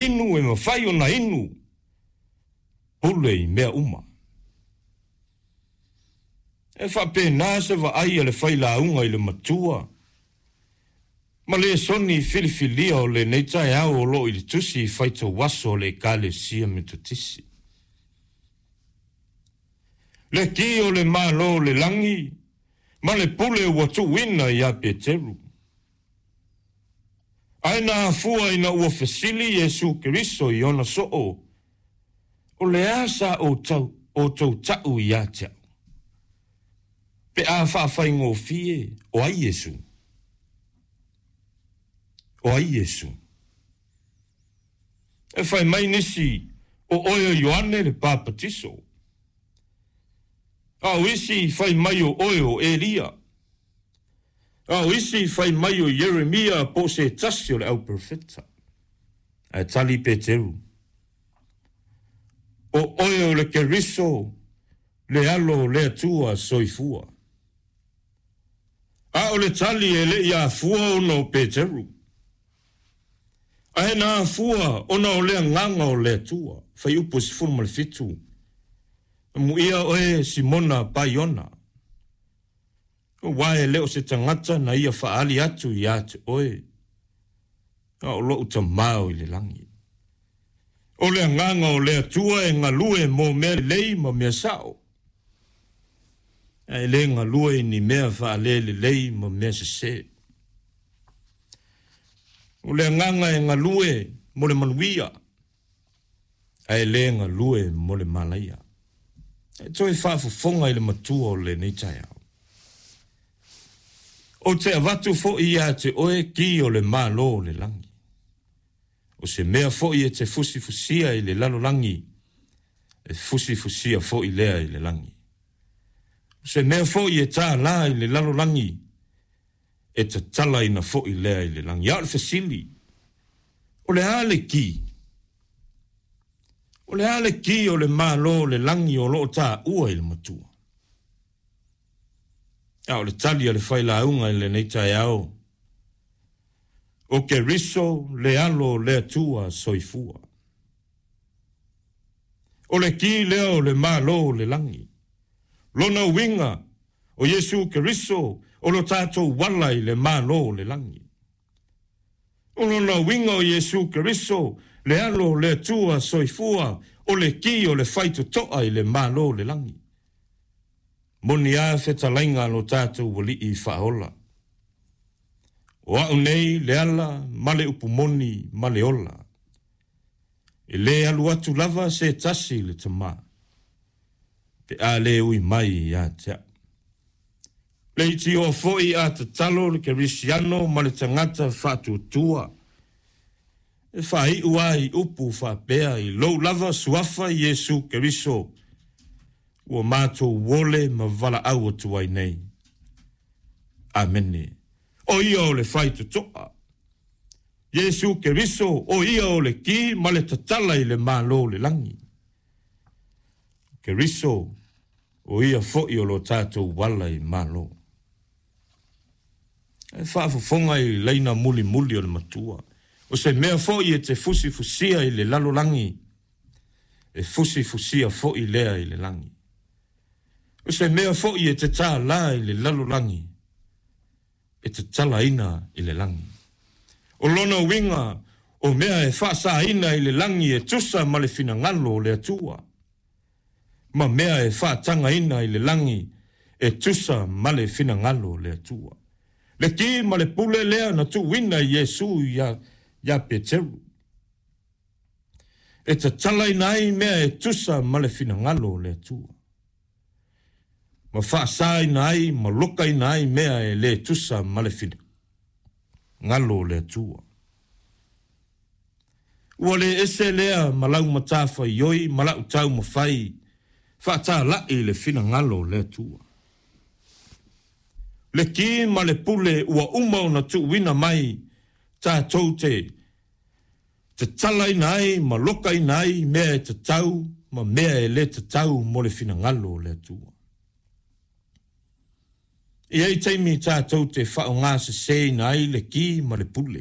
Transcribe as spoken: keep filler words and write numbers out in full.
Inu e mafai ona inu, pule i mea uma. E faapena se vaai a le failauga i le matua ma lesoni filifilia o lenei taeao o lo o i le tusi faitauaso o le Ekalesia Metotisi. Le ki o le Malo o le lagi ma le pule ua tuuina ia Peteru. Ae na afua ina ua fesili Iesu Keriso i ona soo, o le a sa outou ta'u ia te a'u? Pe a faafaigofie, o ai Iesu? O ai Iesu? E fai mai nisi, o oe o Ioane le Papatiso. A o isi fai mai o oe o Elia. A o isi fai mai o Ieremia po o se tasi o le auperofeta. Ae tali Peteru, o oe o le Keriso, le Alo o le Atua soifua. A o le tali e le i afua ona o Peteru, ae na afua ona o le agaga o le Atua. Fuaiupu sefulu ma le fitu. Amuia oe Simona Paiona, aua e le o se tagata na ia faaali atu ia te oe, a o lo'u Tamā o i le lagi. O le agaga o le Atua e galue mo mea lelei ma mea sa'o, ae le galue i ni mea faalelelei ma mea sesē. O le agaga e galue mo le manuia, ae le galue mo le malaia. E toe faafofoga i le matua o lenei taeao. Ou te avatu fo'i ia te oe ki o le Malo o le lagi. O se mea fo'i e te fusifusia i le lalolagi, e fusifusia fo'i lea i le lagi. O se mea fo'i e tālā i le lalolagi, e tatalaina fo'i lea i le lagi. A o le fesili, o le a le ki? O le a le ki o le Malo o le lagi o lo o taua i le matua? A o le tali a le failauga i lenei taeao, o Keriso le Alo o le Atua soifua. O le ki lea o le Malo o le lagi. Lona uiga, o Iesu Keriso o lo tatou ala i le Malo o le lagi. O lona uiga o Iesu Keriso le Alo o le Atua soifua o le ki o le faitotoa i le Malo o le lagi. Moni a fetalaiga a lo tatou Alii faaola. O a'u nei le ala ma le upu moni ma le ola. E le alu atu lava se tasi i le Tamā, pe a le ui mai ia te a'u. Leitioa foi a tatalo le kerisiano ma le tagata faatuatua, e faai'u a i upu faapea, i lou lava suafa Iesu Keriso, ua matou ole ma valaau atu ai nei. Amene. O ia o le faitotoa. Iesu Keriso, o ia o le ki ma le tatala i le Malo o le lagi. Keriso, o ia fo'i o lo tatou ala i Malo. E faafofoga i laina mulimuli o le matua. O se mea fo'i e te fusifusia i le lalolagi, e fusifusia fo'i lea i le lagi. O se mea fo'i e te tālā i le lalolagi, e tatalaina i le lagi. O lona uiga, o mea e faasaina i le lagi e tusa ma le finagalo o le Atua, ma mea e faatagaina i le lagi e tusa ma le finagalo o le Atua. Le ki ma le pule lea na tuuina i Iesu ia, ia Peteru, e tatalaina ai mea e tusa ma le finagalo o le Atua, ma faasaina ai ma lokaina ai mea e le tusa ma le finagalo o le Atua. Ua le ese lea ma lau matafaioi ma la'u taumafai faatāla'i le finagalo o le Atua. Le ki ma le pule ua uma ona tuuina mai tatou te tatalaina ai ma lokaina ai mea e tatau ma mea e le tatau mo le finagalo o le Atua. E i ai taimi tatou te faaaogasesēina ai le ki ma le pule.